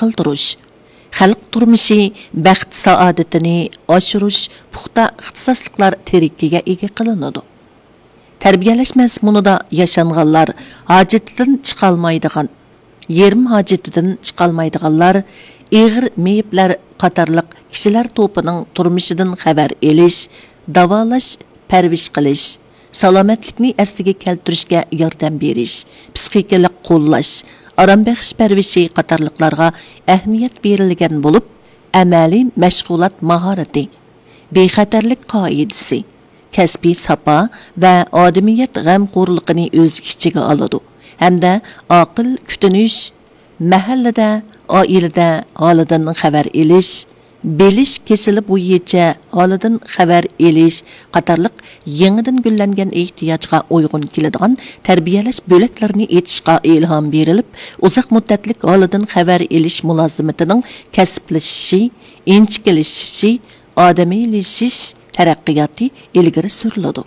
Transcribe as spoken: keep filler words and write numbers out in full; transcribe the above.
قىلدۇرۇش، خەلق تۇرمۇشى، بەخت-سائادىتىنى ئاشۇرۇش پۇختا ئىختىساسلىقلار تىرىكىگە ئىگە قىلىنىدۇ. تەربىيەلەش مەزمۇنىدا ياشانغانلار ھاجىتىدىن چىقالمايدىغان، يېرىم ھاجىتىدىن چىقالمايدىغانلار، ئېغىر مېيىپلەر قاتارلىق كىشىلەر توپىنىڭ تۇرمۇشىدىن خەۋەر ئېلىش، داۋالاش، پەرۋىش قىلىش، سالامەتلىكنى ئەسلىگە كەلتۈرۈشكە ياردەم بېرىش، پىسخىكىلىق قوللاش، ئارام بېغىش پەرۋىشى قاتارلىقلارغا ئەھمىيەت بېرىلگەن بولۇپ، ئەمەلىي مەشغۇلات ماھارىتى، بىخەتەرلىك قائىدىسى، كەسپىي ساپا ۋە ئادىمىيەت غەمخورلۇقىنى ئۆز ئىچىگە ئالىدۇ ھەمدە ئاقىل كۈتۈنۈش، مەھەللىدە، ئائىلىدە ھالىدىن خەۋەر ئېلىش، بىلىش كېسىلى بويىچە ھالىدىن خەۋەر ئېلىش قاتارلىق يېڭىدىن گۈللەنگەن ئېھتىياجغا ئۇيغۇن كېلىدىغان تەربىيەلەش بۆلەكلىرىنى ئېچىشقا ئىلھام بېرىلىپ، ئۇزاق مۇددەتلىك ھالىدىن خەۋەر ئېلىش مۇلازىمىتىنىڭ كەسىپلىشىشى، ئىنچىكىلىشىشى، ئادەمىيلىشىش تەرەققىياتى ئىلگىرى سۈرۈلىدۇ.